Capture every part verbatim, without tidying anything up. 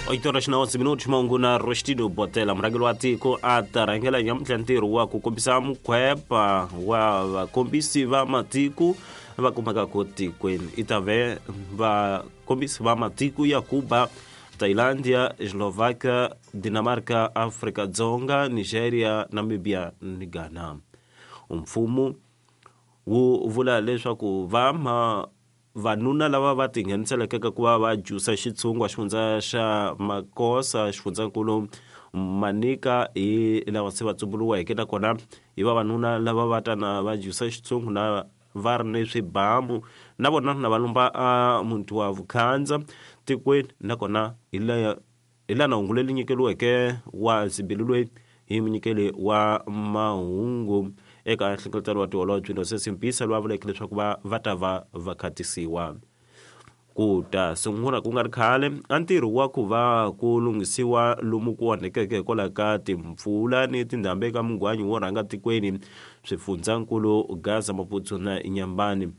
Oito horas na onze minutos mahungu na Rostino Botela murhangeri wa tiko a ta rhangela nyamuntlha ntirho wa ku kombisa mukhwepa wa vakombisi va matiko va kumekaka tikweni i ta ve vakombisi va matiko ya Cuba, Thailandia, Slovakia, Dinamarca, Afrika Dzonga, Nigeria, Namibia ni Ghana. Mfumo wu vula leswaku va ma vanuna lava va tingheniseleke ka ku va va jusa xitshungwa xifundza xa Makosa xifundzankulu Manika hi lava se va tsumburiweke nakona hi vavanuna lava va tana va jusa xitshungu na va ri ni swibamu na vona na va lumba a muti wa Vukhandza tikweni nakona hi la hi lana hungu leri nyikeriweke wa Zibili loyi hi munyikeli wa mahungu eka nhlengeletano wa tiholobye Innocent Mpisa loyi a vuleke leswaku va va ta va va khatisiwa ku ta sungula ku nga ri khale a ntirho wa ku va ku lunghisiwa lomu ku onhekeke hikwalaho ka timpfula ni tindhambi eka mungwanyi wo rhanga tikweni swifundzankulu Gaza, Maputo na Inhambane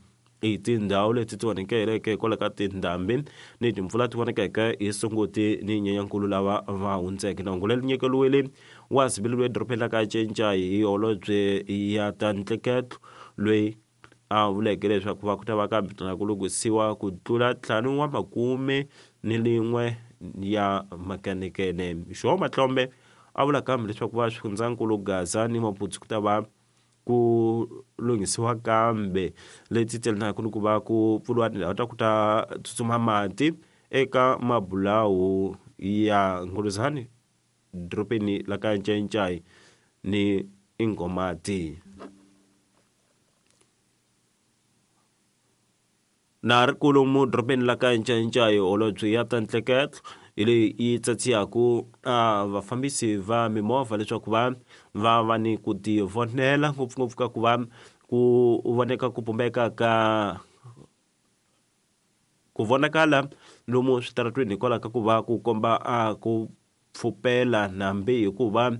i tindhawu leti ti onhekeleke hikwalaho ka tindhambi ni timpfula ti vonekeke hi Sunguti ni Nyenyankulu lava va hundzeke. Na hungu leri nyikeriwile wa Zibili loyi edorobeni ra ka Ncencai hi holobye ya ta ntleketlo loyi a vuleke leswaku va ku ta va kambe na ku lunghisiwa ku tlula ntlhanu wa makume ni lin'we ya makenikene. João Matlombe a vula kambe leswaku va swifundzankulu Gaza ni Maputo ku ta va ku lunghisiwa kambe leti telanaka ni ku va ku pfuriwa tindhawu ta ku ta tsutsuma mati eka mabulawu ya Nguluzani dorobeni la ka Ncencai ni Ingomati. Na ri kulumu dorobeni la ka Ncencai holobye ya ta ntleketlo hi leyi yi tsatsiyaku a vafambisi va mimovha leswaku va va va ni ku tivonela ngopfungopfu ka ku va ku voneka ku pumbeka ka ku vonakala lomu switaratweni hikwalaho ka ku va ku komba a ku pfupela nambi hikuva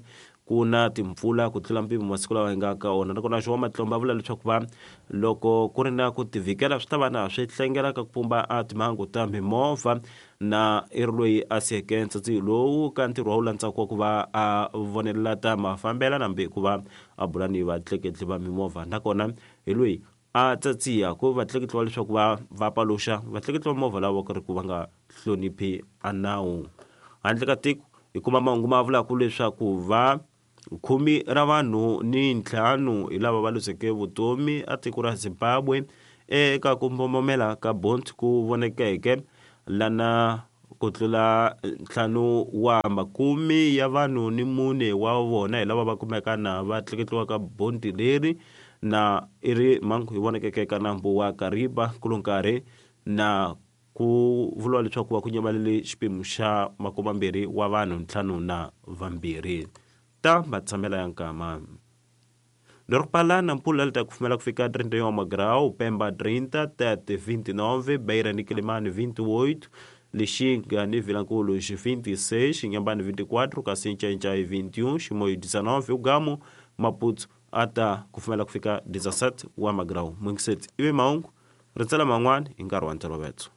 ku na timpfula ku tlula mpimo masiku lawa hi nga ka wona. Nakona João Matlombe a vula leswaku va loko ku ri na ku tivhikela swi ta va na swi hlengela ka ku pumba a timhangu ta mimovha na i ri loyi a siyeke ntsatsi lowu ka ntirho wa wu landzaka wa ku va a vonelela ta mafambela nambi ku va a bula ni vatleketli va mimovha nakona hi loyi a tsatsiya ku vatleketli va leswaku va va paluxa vatleketli va mimovha lava ku ri ku va nga hloniphi a nawu. Handle ka tiko hi kuma mahungu ma vulaka leswaku va khume ra vanhu ni ntlhanu hi lava va luzeke vutomi a tiko ra Zimbabwe eka ku mbombomela ka bond ku vonekeke lana ku tlula ntlhanu wa makume ya vanhu ni mune wa vona hi lava va kumeka na va tleketliwa ka bondi leri na i ri mhangu yi vonekeke eka nambu wa Kariba kulonkarhi na ku vuriwa leswaku va ku nyamalele xiphemu xa makumambirhi wa vanhu ntlhanu na vambirhi ta matshamela ya nkama. Dorpala Nampula li ta kufumela kufika trinta e um grau, Pemba trinta, Tete vinte e nove, Beira ni Quelimane vinte e oito, Lixinga ni Vilanculos vinte e seis, Inhambane vinte e quatro, kasi Ncencai vinte e um, Chimoio dezenove, Ugamo, Maputo ata kufumela kufika dezassete wa magrau. Mwingiseti iwe maungu, ritsela man'wani hi nkarhi wa ntolovelo.